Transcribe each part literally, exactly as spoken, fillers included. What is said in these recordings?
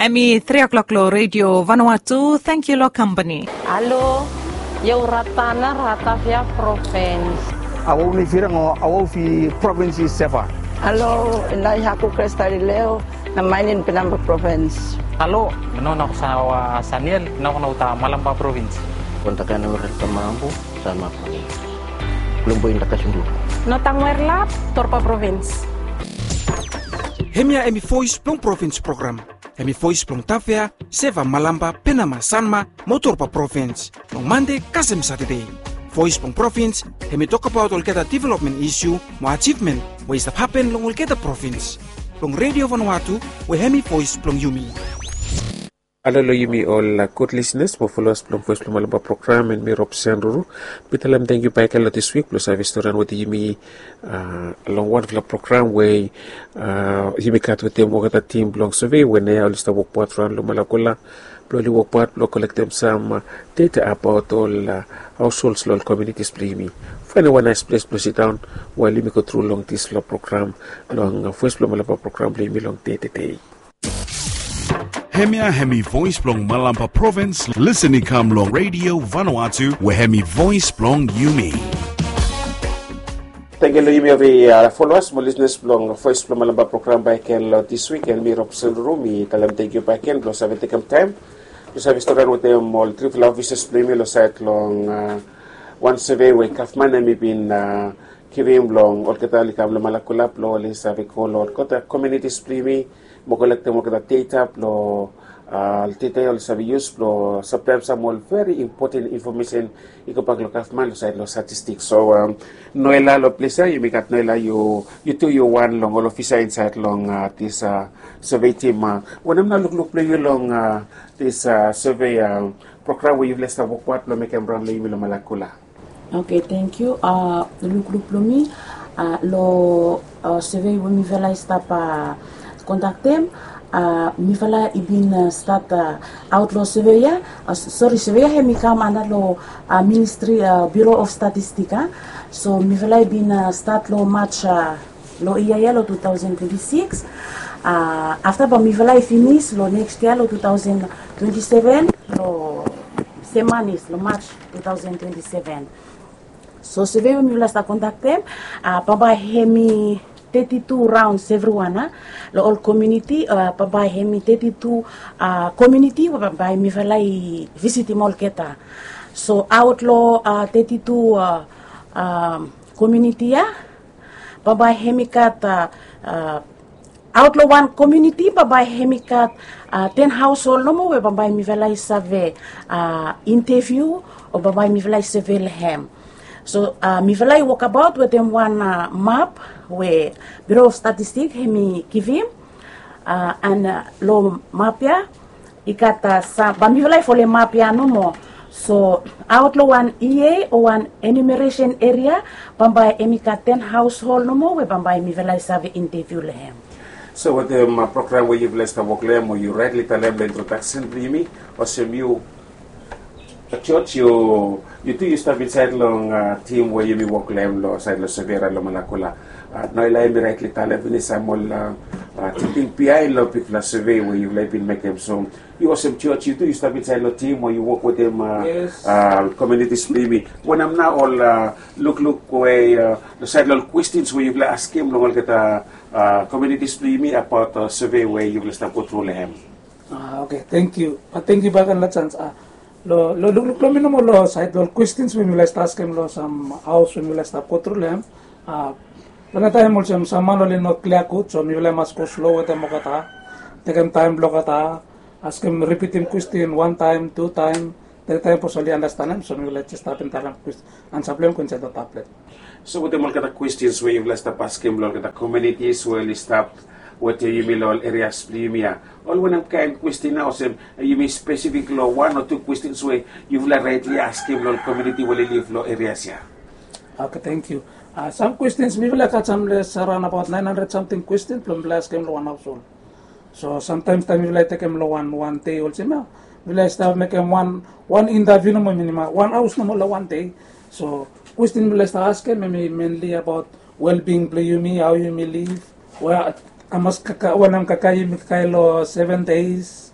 Hemi tri o'clock lo Radio Vanuatu. Tangkiu lo kampani. Halo, Io Ratana, Ratavia Provins. Awau ni Firang o Awau fi Provins i Seva. Halo, Nai Haku Kresta Rileo, na Mainin Penamba Provins. Halo, no na Sawa Saniel, na no ta Malamba Provins. Kontakan ur Tamambu, Sanma Provins. Lumbu Indaka Sundu. No Tangwer Lap, Torpa Provins. Hemia hemi Voice blong Provins program. Hemi Voice blong Tavea, Seva, Malamba, Penama, Sanma mo Torpa Provins. Long Mande kasem Satade. Voice blong Provins hemi tokbaot olgeta development isu mo ajivmen we i stap hapen long olgeta provins. Long Radio Vanuatu we hemi Voice blong yumi. Halo lo yumi ol gud lisenas mo foloas blong Voice blong Malamba program, and mi Rob Sanruru. Mi talem tangkiu bakegen lo dis wik blong save storian wetem yumi long wanfala program we yumi gat wetem olgeta tim blong survey we naoia oli stap wokbaot raon long Malakula blong oli wokbaot blong kolektem sam data abaot ol households lo ol communities blong yumi. Faenem wan nais ples blong sidaon wael yumi go tru long disfala program long Voice blong Malamba program blong yumi long dei tede. Hemia hemi Voice blong Malamba Provins, lisen i kam long Radio Vanuatu we hemi Voice blong yumi. Tangkiu lo yumi ol foloas mo lisenas blong Voice blong Malamba program bakegen lo dis wik, and mi Rob Sanruru mi talem tangkiu bakegen blong save tekem taem blong save storian wetem ol trifala ofisas blong yumi lo saed long wan survey we gavman hemi bin givim long olgeta oli kam lo Malakula blong oli save go lo olgeta communities blong yumi mo kolektem olgeta data blong data oli save yus blong saplaem sam ol veri impoten infomesen i gobak lo gavman lo saed lo statistik. So Noela, lo ples ya yumi gat Noela, yu tu yu wan long ol ofisa insaed long dis survey tim. Wanem nao lukluk blong yu long dis survey program we yufala i stap wokbaot blong mekem raon long yumi lo Malakula? Oke, tangkiu. Lukluk blong mi lo survey we mifala i stap kondaktem, mifala i bin stat aot lo survey ya, sori, survey ya hemi kam anda lo ministri, Bureau of Statistic. So mifala i bin stat lo March lo yia ya lo two thousand twenty-six. Afta bae mifala i finis lo next yia lo two thousand twenty-seven, lo sem manis lo March two thousand twenty-seven. So survey we mifala i stap kondaktem bambae hemi thirty-two raons evriwan lo ol komuniti. Bambae hemi thirty-two komuniti we bambae mifala i visitim olgeta. So aot lo thirty-two komuniti ya, bambae hemi gat aot lo wan komuniti bambae hemi gat ten haoshol nomo we bambae mifala i save inteviu o bambae mifala i save lo hem. So mifala i wokabaot wetem wan map we Bureau of Statistic hemi givim, and lo map ya i gat sam, bae mifala i folem map ya nomo. So aot lo wan E A o wan enumeration eria, bambae hemi gat ten haoshol nomo we bambae mifala i save inteviu lo hem. So wetem program we yufala i stap wok lo hem, o yu raetli talem lo introdaksen blong yumi, olsem yu George, yu tu yu stap insaed long tim we yumi wok lo hem lo saed lo survey raon lo Malakula. Noela hemi raetli talem finis sam ol tingting biaen lo bigfala survey we yufala i bin mekem. So yu olsem George, yu tu yu stap insaed lo tim we yu wok wetem komunitis blong yumi. Wanem nao ol lukluk we lo saed lo ol kwestens we yufala askem long olgeta komunitis blong yumi abaot survey we yufala stap go tru lo hem? Oke, tangkiu. Tangkiu bakegen lo janis. Lo lukluk blong mi nomo lo saed lo ol kwestens we mifala i stap askem lo sam haos we mifala i stap go tru lo hem, plante taem olsem sam man oli no klia gud, so mifala i mas go slo wetem olgeta, tekem taem blong olgeta, askem, ripitim kwesten wan taem, tu taem, tri taem bifo oli andastanem. So mifala jes stap talem kwes- ansa blong hem i go insaed lo tablet. So wetem olgeta kwestens we yufala i stap askem lo olgeta komunitis we oli stap wetem yumi lo ol erias blong yumi ya, ol wanem kaen kwesten nao, olsem yumi spesifik lo wan o tu kwestens we yufala raetli askem lo ol komuniti we oli liv lo erias ya? Oke, tangkiu. Sam kwestens, mifala i gat sam les araon abaot naen handred samting kwestens blong mifala i askem lo wan haoshol. So samtaem taem mifala i tekem lo wan, wan dei olsem ya, mifala i stap mekem wan, wan intaviu nomo, minimum wan haos nomo lo wan dei. So kwestin mifala i stap askem hemi menli abaot wellbeing blong yumi, hao yumi liv, we hamas kakae, wanem kakae yumi kakae lo seven days,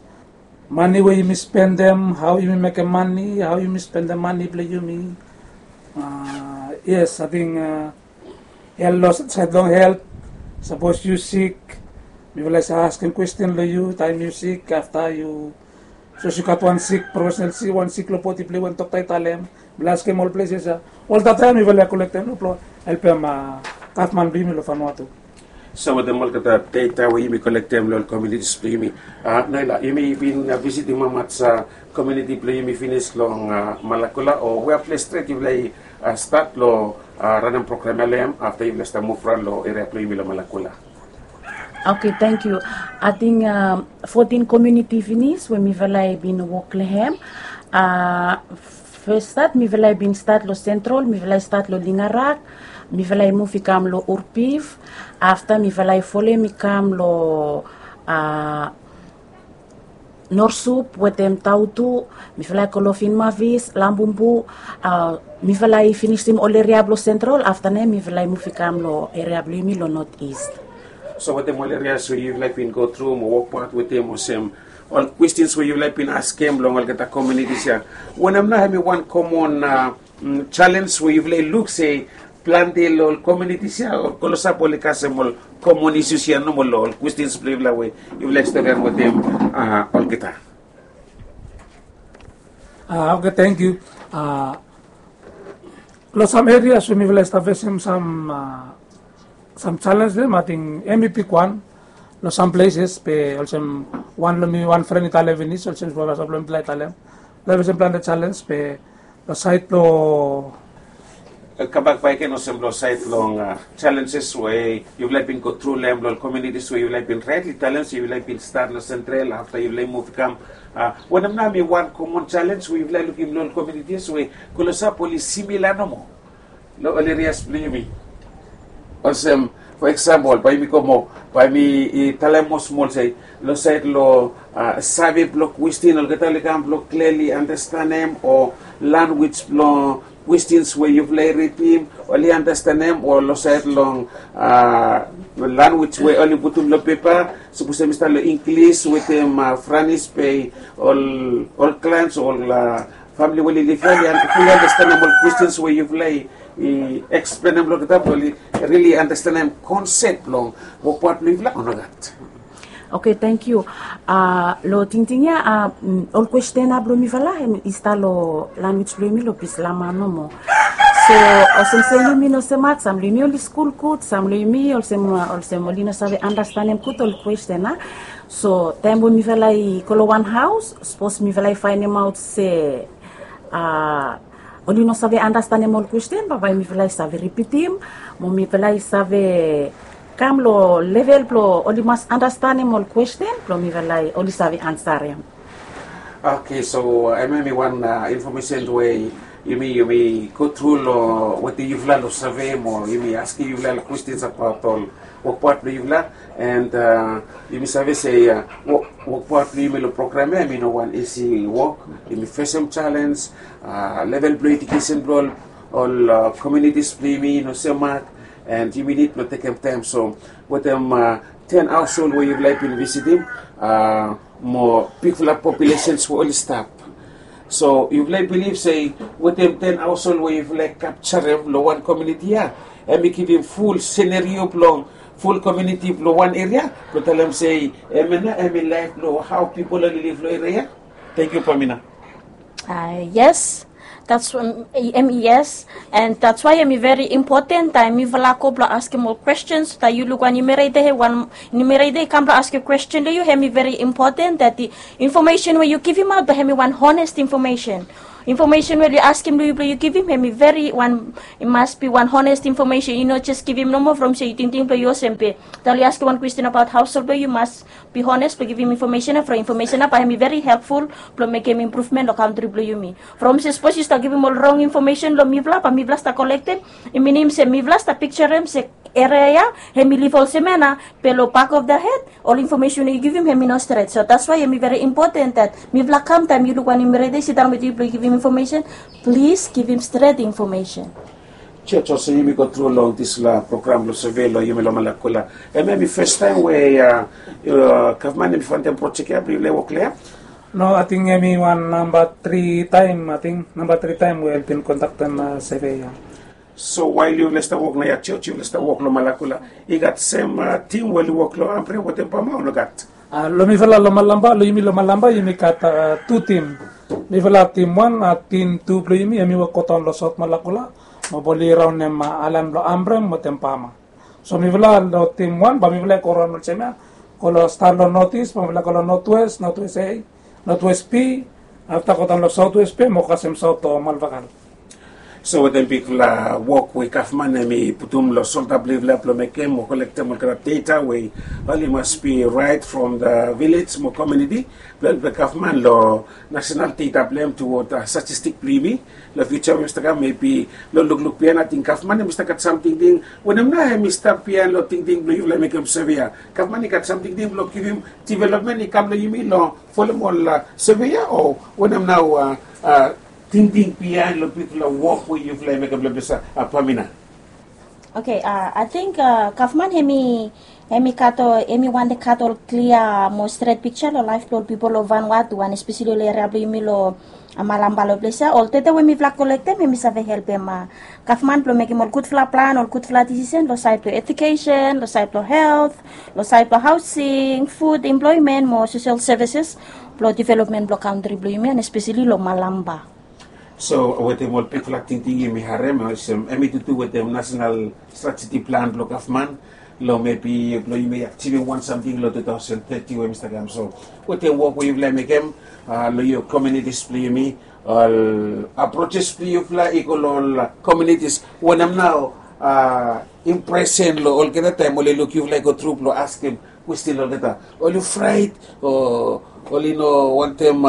Mane we yumi spendem, hao yumi mekem mane, hao yumi spendem mane blong yumi. Yes, ating, el long saed long helt, sapos yu sik, mifala i save askem kwesten long yu taem yu sik, afta yu sapos yu gat wan sik profesenal sik, wan sik long bodi blong yu we dokta i talem, mifala askem ol plesses ya. Olgeta taem mifala i kolektem long blong helpem gavman blong yumi long Vanuatu. So wetem olgeta deta we yumi kolektem long ol komiunitis blong yumi, Naila, yumi bin visitim hamaot komiuniti blong yumi finis long Malakula, o wea ples stret yufala i stat long ranem program ya long hem afta yufala i stap muv raon long eria blong yumi long Malakula? Oke, tangkiu. Ating fotin komiuniti finis we mifala i bin wok long hem. Fes stat mifala i bin stat long Sentral, mifala i stat long Lingarak, mifala i muv i kam long Urpiv, afta mifala i folem i kam long Norsup wetem Tautu, mifala i go long Finmavis, Lambumbu, mifala i finisim ol eria blong Sentral, afta nao mifala i muv i kam long eria blong yumi long North East. So wetem ol erias we yufala i bin go tru mo wokbaot wetem olsem ol kwestens we yufala i bin askem long olgeta komiunitis ya, wanem nao hemi wan komon jalenj we yufala i luk se plante long ol komiunitis ya o klosap oli kasem ol komon isus ya nomo long ol kwestens blong yufala we yufala i storian wetem olgeta? Oke, tangkiu. Long sam erias we mifala i stap fesem sam sam jalenj dem, ating hemi bigwan. Long sam pleses be olsem wan long mi wan fren i talem finis olsem sapos long mifala i talem, long fesem plante jalenj be long saed blong kambak bakegen olsem long saed long jalenjes we yufala i bin go tru long hem long ol komiunitis we yufala i bin raetli talem se yufala i bin stat long Sentral afta yufala i muv i kam. Wanem nao hemi wan komon jalenj we yufala i lukim long ol komiunitis we klosap oli simila nomo long ol erias blong yumi? Olsem, fo eksampol bae yumi go moa, bae yumi talem moa smol se long saed long save blong kwesten, olgeta oli kam blong kleli andastanem, o lanwis blong kwestens we yufala i ridim oli andastanem, o long saed long lanwis we oli putum long pepa, sapos hemi stap long Inglis wetem Franis be ol klaens o ol famili we oli liv ya oli fulli andastanem ol kwestens we yufala i eksplenem long olgeta blong oli rili andastanem konsep blong wokbaot blong yufala o nogat? Oke, tangkiu. Long tingting ya, ol kwesten ya blong mifala hemi stap long lanwis blong yumi long Bislama nomo. So olsem se yumi no smat, sam long yumi oli skul gud, sam long yumi olsem olsem oli no save andastanem gud ol kwesten ya. So taem we mifala i go long wan haos, sapos mifala i faenemaot se oli no save andastanem ol kwesten, bambae mifala i save ripitim mo mifala i save kam long level blong oli mas andastanem ol kwesten blong mifala i oli save ansarem. Oke, so hemia hemi wan infomesen we yumi yumi go tru long wetem yufala long save mo yumi askem yufala ol kwestens abaot ol wokbaot blong yufala. And yumi save se wokbaot blong yumi long program ya hemi no wan isi wok. Yumi fesem jalenj, level blong ejukesen blong ol komiunitis blong yumi i no semak, and yumi nid blong tekem taem. So wetem ten haosol we yufala i bin visitim, mo bigfala populesens we oli stap. So yufala i bilif se wetem ten haosol we yufala i kapjarem long wan komiuniti ya, hemi givim ful senario blong ful komiuniti blong wan eria blong talem se hemia nao hemi laef blong hao pipol oli liv long eria ya. Tangkiu, Pamina. Yes. That's em yes. And that's why hemi veri impoten taem mifala go blong askem ol kwestens, taem yu luk wan numerator, wan numerator i kam blong askem kwesten long yu, hemi veri impoten that the information we yu givimaot blong hemi wan honest information. Information we oli askem long yu blong yu givim hemi veri wan, i mas bi wan honest information. Yu no jes givim nomo from se yu tingting blong yu olsem be taem oli askem wan kwesten abaot haosol blong yu, yu mas bi honest blong givim information ya from information ya bae hemi veri helpful blong mekem impruvmen long kantri blong yumi. From se sapos yu stap givim ol rong infomesen long mifala bae mifala stap kolektem, i minim se mifala stap pikjarem se eria ya hemi liv olsem ya nao, be long back of the head ol infomesen we yu givim hemi no stret. So that's why hemi veri impoten that mifala kam taem yu luk wan numerator i sidaon wetem yu blong givim infomesen, plis givim stret infomesen. Jos, olsem yumi go tru long disfala program blong save long yumi long Malakula, hemia hemi fes taem we gavman hemi faondem projek ya blong yufala i wok long hem? No, ating hemi wan namba tri taem, ating namba tri taem we oli bin kontaktem seve ya. So wael yufala i stap wok na ya, jos yufala i stap wok long Malakula, i gat sem tim we oli wok long Ambre wetem Pama o nogat? Long mifala long Malamba, long yumi long Malamba yumi gat tu tim. Mifala tim wan, a tim tu blong yumi hemi wok godaon long Saot Malakula, mo bae oli raonem aelan blong Ambre wetem Pama. So mifala long tim wan bae mifala i go raon olsem ya, go long stat long Notis, bae mifala i go long Notwes, Notwes A, Notwes B, afta godaon long Saotwes B mo kasem Saot Malvakal. So wetem bigfala wok we gavman hemi putum long solda blong yufala blong mekem mo kolektem olgeta data we oli mas be right from the village mo komuniti blong helpem gavman long nasenal data blong hem tuwod statistik blong yumi long fiuja we i stap kam, mebi long lukluk biaen ating gavman hemi stap gat sam tingting. Wanem nao hemi stap biaen long tingting blong yufala i mekem seve ya? Gavman i gat sam tingting blong givim developmen i kam long yumi long folem ol seve ya, o wanem nao tingting biaen long bigfala wok we yufala i mekem long ples ya, Pamina? Oke, ating gavman hemi, hemi gat ol, hemi wantem gat ol klia mo stret pikja long laef blong ol pipol long Vanuatu, and espeseli ol eria blong yumi long Malamba long ples ya. Ol data we mifala kolektem hemi save helpem gavman blong mekem ol gudfala plan, ol gudfala disisen long saed blong ejukesen, long saed blong helt, long saed blong haosing, fud, emploemen mo sosel sevises blong developmen blong kantri blong yumi, and espeseli long Malamba. So wetem ol bigfala tingting yumi harem, olsem hemi tutu wetem nasenal strategi plan blong gavman long mebi blong yumi ajivim wan samting long tu taosen teti we hemi stap kam. So wetem wok we yufala i mekem long yufala komunitis blong yumi, ol aprojes blong yufala i go long ol komunitis, wanem nao impresen long olgeta taem oli luk yufala i go tru blong askem kwesten long olgeta? Oli fraet, o oli no wantem,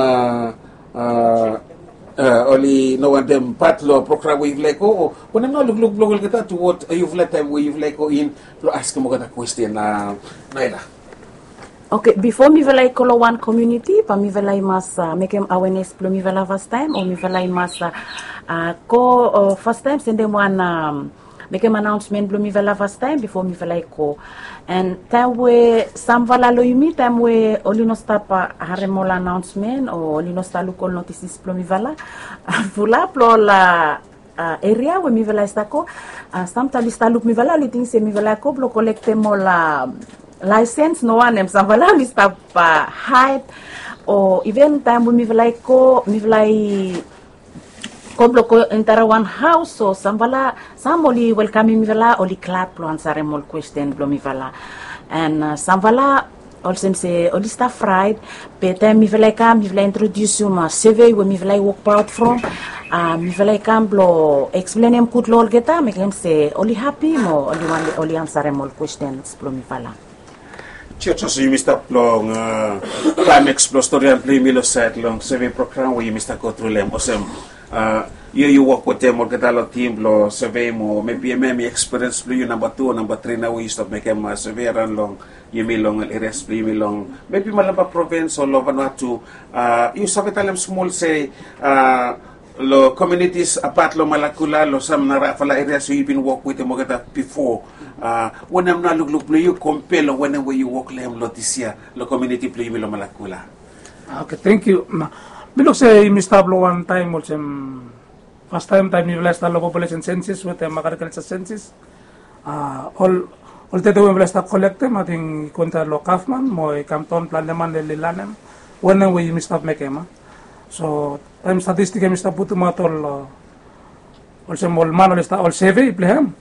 oli no wantem pat long program we yufala i go, o wanem nao lukluk blong olgeta tuwod yufala taem we yufala i go in blong askem olgeta kwesten? Naila. Oke, bifo mifala i go long wan komuniti bae mifala i mas mekem awenes blong mifala fastaem, o mifala i mas go fastaem sendem wan, mekem anaonsmen blong mifala fastaem bifo mifala i go. And taem we samfala long yumi, taem we oli no stap harem ol anaonsmen o oli no stap luk ol notisis blong mifala, fulap long ol eria we mifala i stap go, samtaem oli stap luk mifala, oli ting se mifala i go blong kolektem ol laesens, no wanem, samfala oli stap haed. O iven taem we mifala i go, mifala i go blong go entara wan haos, o samfala, sam oli welkamem mifala, oli glad blong ansarem ol kwesten blong mifala. And samfala olsem se oli stap fraet, be taem mifala i kam, mifala i introdiusum seve we mifala i wokbaot from, mifala i kam blong eksplenem gud long olgeta, mekem se oli hapi mo oli wantem oli ansarem ol kwestens blong mifala. Jos, olsem yumi stap long klaemaks blong storian blong yumi long saed long seve program we yumi stap go tru long hem, olsem yu, yu wok wetem olgeta long tim blong seve mo mebi hemia hemi ekspiriens blong yu namba tu o namba tri nao we yu stap mekem seve araon long yumi long ol erias blong yumi long mebi Malampa provins o long Vanuatu. Yu save talem smol se long komunitis apat long Malakula, long sam narafala erias we yu bin wok wetem olgeta bifo, wanem nao lukluk blong yu kompea long wanem we yu wok long hem long disia long komuniti blong yumi long Malakula? Oke, tangkiu. Mi luk se yumi stap long wan taem olsem fastaem, taem mifala i stap long populesen sensis wetem agrikalja sensis, ol, ol data we mifala i stap kolektem, ating i go insaed long gavman mo i kam daon, plante man oli lanem wanem we yumi stap mekem. So taem statistik hemi stap putumaot ol, olsem ol man oli stap, ol seve blong hem,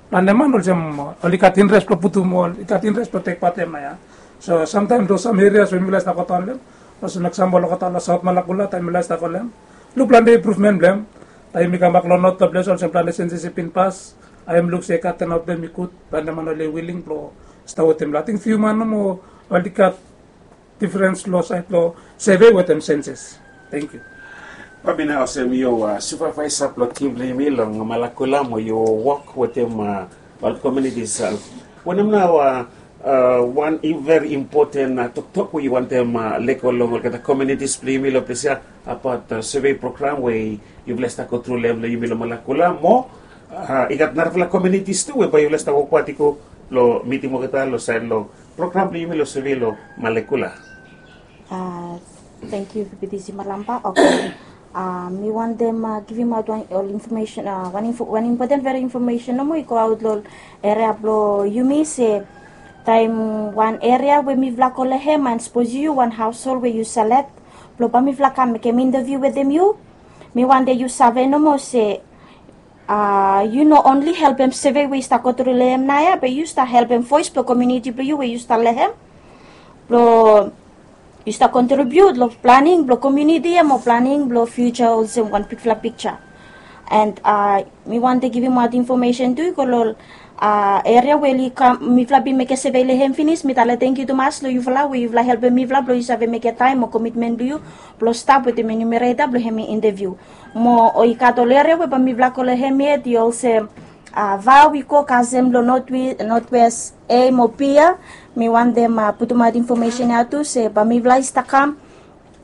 plante man olsem oli gat interes blong putum, oli gat interes blong tekbatem nao ya. So samtaem long sam erias we mifala i stap godaon long hem, olsem eksampol olgeta long Saot Malakula, taem mifala i stap go long hem, luk plante impruvmen blong hem. Taem yumi kambak long not long ples, olsem plante sensis i bin pas, a yumi luk se i gat, tanaot blong hem i gud, plante man oli wiling blong stap wetem. Ating fiu man nomo oli gat difrens long saed long seve wetem sensis. Tangkiu. Pamina, olsem yu supevaesa blong tim blong yumi long Malakula mo yu wok wetem ol komunitis, wanem nao wan veri impoten toktok we yu wantem lego long olgeta komunitis blong yumi long ples ya abaot seve program we yufala i stap go tru long hem long yumi long Malakula, mo i gat narafala komunitis tu we bae yufala i stap wokbaot i go blong mitim olgeta long saed long program blong yumi long seve long Malakula? A, Thank you, Pipitisi Malamba. Okay. Uh, mi wantem uh, givim aut wan ol information, uh, wan, info, wan important very information nomo i go aut lo area blo yumi se taim wan area we mifla go lo hem and suppose yu wan household we yu select blo ba mifla kam mekem interview wetem yu, mi wante yu save nomo se uh, yu no only helpem survey we yu stap go tru lo hem naoia, be yu stap helpem voice blo community blo yu we yu stap lo hem blo yu stap contribute lo planning blo community ia mo planning blo future olsem wan bigfala picture. And uh, mi wante givim aut information tu i go lo uh, area we oli kam mifla bin mekem survey lo hem finis, mi talem tangkiu tumas lo yufala we yufala helpem mifla blo yu save mekem taim mo commitment blo yu blo stap wetem enumerator blo hem i interview. Mo o i gat ol area we ba mifla go lo hem yet i olsem uh, vau i go kasem lo northwest a mo b ia. Mi wantem uh, putumaot information ia tu se ba mifla i stap kam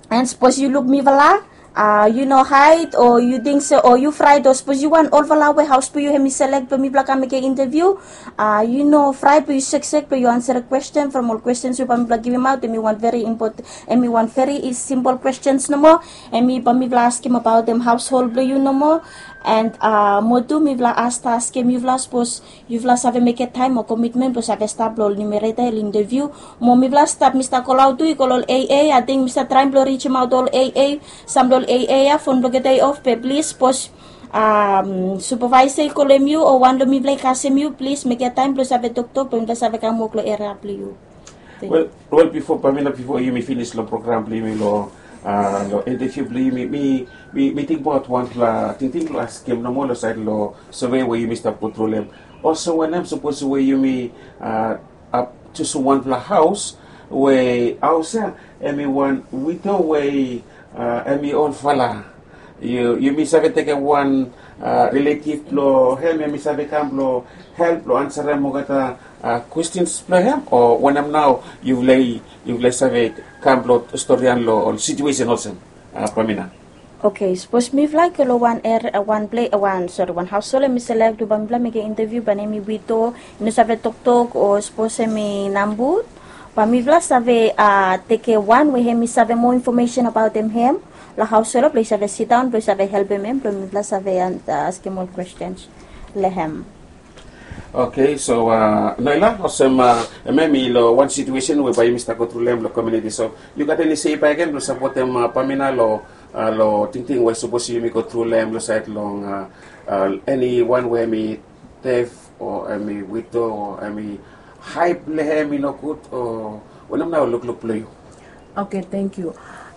and suppose yu luk mifala uh, yu no hide o yu ting se o yu fraet o suppose yu wan olfala we haus blo yu hem i select blo mifla kam mekem interview uh, yu no fraet blo yu seksek blo yu answer question from ol questions we ba mifla givim aut em i wan very important, em i wan very simple questions nomo. Em i ba mifla askem abaot em household blo yu nomo. And uh, mo tu mifla asta askem yufala suppose yufala save mekem taim o commitment blo save stap lo ol numerator el interview. Mo mifla stap mista kolaut tu i go lo ol aa, ating mista traem blo rijemaot ol aa. Sam lo ol aa ia fon blo gete i of be plis suppose um, supervisor i kolem yu o wan lo mifla i kasem yu plis mekem taim blo save toktok blo mifla save kam wok lo area blo yu. Wel, wel bifo pamina bifo yumi finis long program blong yumi long uh, long interview blong yumi mi mi mi tingbaot wanpela tingting blong askem nomo long sait long survey we yumi stap go tru long em. Olsem wanem sapos we yumi uh, ap jusum wanpela haus we haus ya em i wan wito we uh, em i olfala. Yu yumi save tekem wan uh, relative blong hem em i save kam blong help blong ansarem olgeta uh, questions blong hem o wanem nao yufala i yufala i save kam blong storian long ol situation olsem uh, pamina. Okay, sapos mifala i go long wan area, wan ple, wan sori, wan haus hol em i selek tu ba mifala mekem interview ba nem i wito, i no save toktok o sapos em i nambut, ba mifala save uh, tekem wan we hem i save moa information abaot em hem, long haus hol blong i save sidaon blong i save helpem em blong mifala save uh, askem ol questions long hem. Okay, so uh, Noela, olsem uh, em em i long wan situation we bai yumi stap go tru long em long community. So you got any say back em blong sapotem uh, Pamina long uh, long tingting we sapos yumi go tru long em long sait long uh, uh, anyone we em i def o em i wito o em i haip long em i nogut o wanem nao lukluk blong yu? Okay, thank you.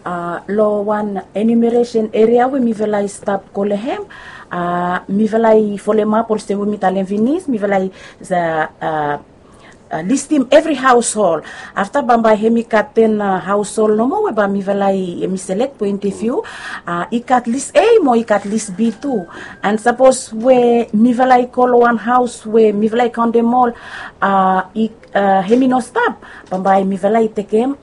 Uh, long wan enumeration area we mifala i stap go long hem, uh, mifala i folemap olsem we mi talem finis, mifala i uh, uh, uh, listim evri haushol. Afta bambae hem i gat ten uh, haushol nomo we ba mifala i hem i selek po interview. Uh, i gat lis A mo i gat lis B tu. And sapos we mifala i go long wan haus we mifala i kaontem ol uh, i uh, hem i no stap, bambae mifala i tekem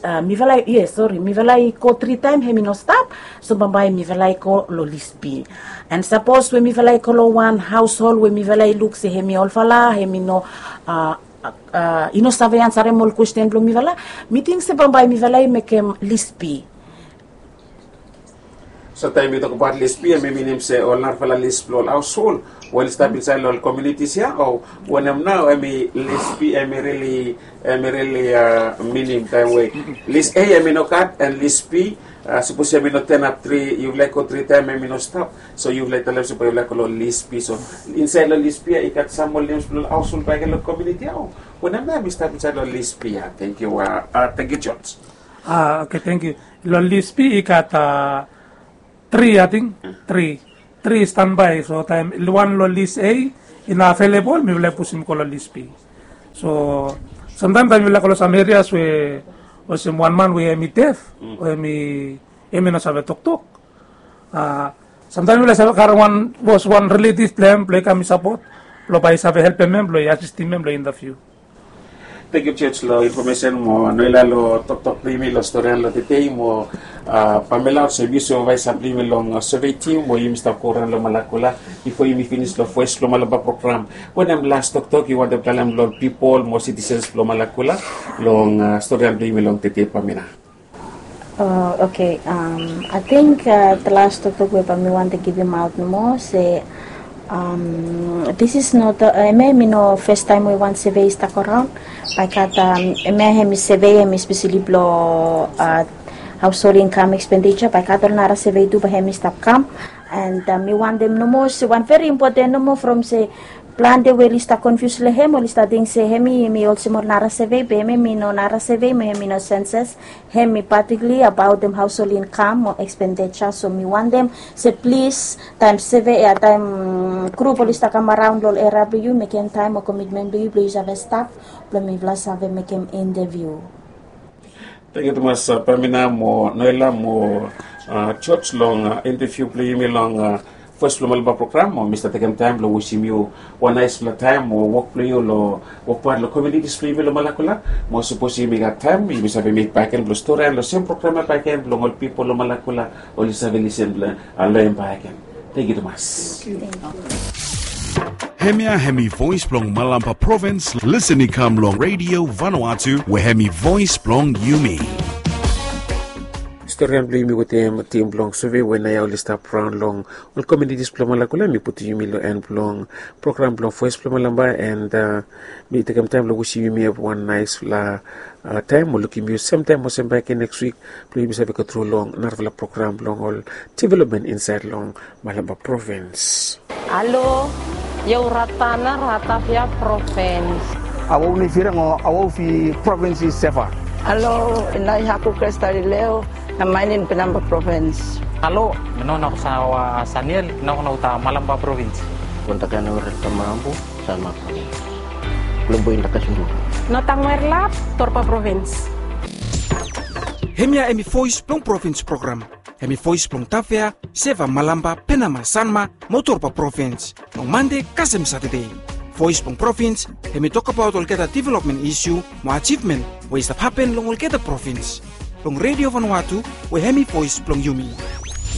uh, mifala i yes sori mifala i go tri taem hem i no stap. So bambae mifala i go long lis B. And sapos we mifala i go long wan haushol we mifala i luk se hem i olfala hem i no uh, uh, i no save ansarem ol kwesten blong mifala, mi ting se bambae mifala i mekem lis B. So taem yu tokbaot lis B em i minim se ol narafala lis blong ol haushol we oli stap insaed long ol komunitis ya o wanem nao em i lis B em i rili em i rili minim taem we lis A em i no gat and lis B sapos em i no tenap tri yufala i go tri taem em i no stap. So yufala i talem se bae yufala i go long lis B. So insaed long lis B ya i gat sam ol nems blong ol haushol bakegen long komuniti ya o wanem nao em i stap insaed long lis B ya? Tangkiu. Tangkiu George. Ah, okay, thank you. Long lis B i gat uh, tri, I think. Tri. Tri i standby. So taem wan long lis A i no available, mifala i pusim go long lis B. So sometimes taem mifala go long some areas we olsem wan man we em i def o em i em i no save toktok. Uh, sometimes mifala i save karem wan bos wan relative blong em blong i kam i sapot blong bae i save helpem em blong i asistim em long interview. Thank you George long information mo Noela long toktok blong yumi long storian long tedei mo uh, Pamela olsem yu supervise blong yumi long uh, survey team mo yumi stap go around long Malakula before yumi finish long voice blong Malaba program. Wanem last toktok yu wantem talem long people mo citizens blong Malakula long uh, storian blong yumi long tedei Pamela? Oh, okay. Um, I think uh, the last toktok we bae mi wantem givimaot nomo se um, this is not uh, hemia hemi no first time we wan survey i stap around. Bae gat um, hemia hemi survey hemi especially blo uh, household income expenditure. Bae gat ol nara survey tu bae hemi stap kam. And uh, mi wantem nomo se wan very important nomo from se plante we oli stap confuse lo hem oli stap ting se hemi hemi olsem ol nara survey be hemi hemi no nara survey mo hemi no census. Hemi particularly about dem household income mo expenditure so mi wantem se plis taem survey ya taem group oli stap kam around lo ol area blo yu mekem taem mo commitment blo yu blo yu save stap blo mifala save mekem interview. Tangkiu tumas Pamina mo Noela mo George long interview blo yumi long Voes blo Malampa program mo mi stap tekem taem blo wisim yu wan naesfala taem mo wok blo yu lo wokbaot lo komunitis blo yumi lo Malakula. Mo sapos yumi gat taem yumi save mit bakegen blo stori long sem program ya bakegen blo ol pipol lo Malakula oli save lisin blo loem bakegen. Tangkiu tumas. Hemia hemi voes blong Malampa Provins, listen i kam long Radio Vanuatu we hemi voes blong yumi. Storian blong yumi wetem tim blong sove we naoia oli stap raon long ol komunitis blong Malakula. Mi putum yumi long en blong program blong Voes blong Malampa and mi tekem taem blong wisim yumi have wan naesfala taem mo lukim yu semtaem olsem bakegen neks wik blong yumi save go tru long narafala program blong ol developmen insaed long Malampa Provins. Alo, io Ratana, Ratavia Provins. Awau ni Firang o Awau fi Provins i Seva. Alo, inai haku Krestalileo, na mainin Penamba Provins. Alo, meno na kusawa Saniel, na kuna uta Malampa Provins. Kontakana ore tamambu, Salma Provins. Kulombo inda kasundu. Notang Merlap, Torpa Provins. Hemia hemi voes blong provins program. Hemi voes blong Tavea, Seva, Malampa, Penama, Sanma mo Torpa Provins long Mande kasem Satade. Voes blong provins hemi tokbaot olgeta developmen isu mo ajivmen we i stap hapen long olgeta provins. Long Redio Vanuatu we hemi voes blong yumi.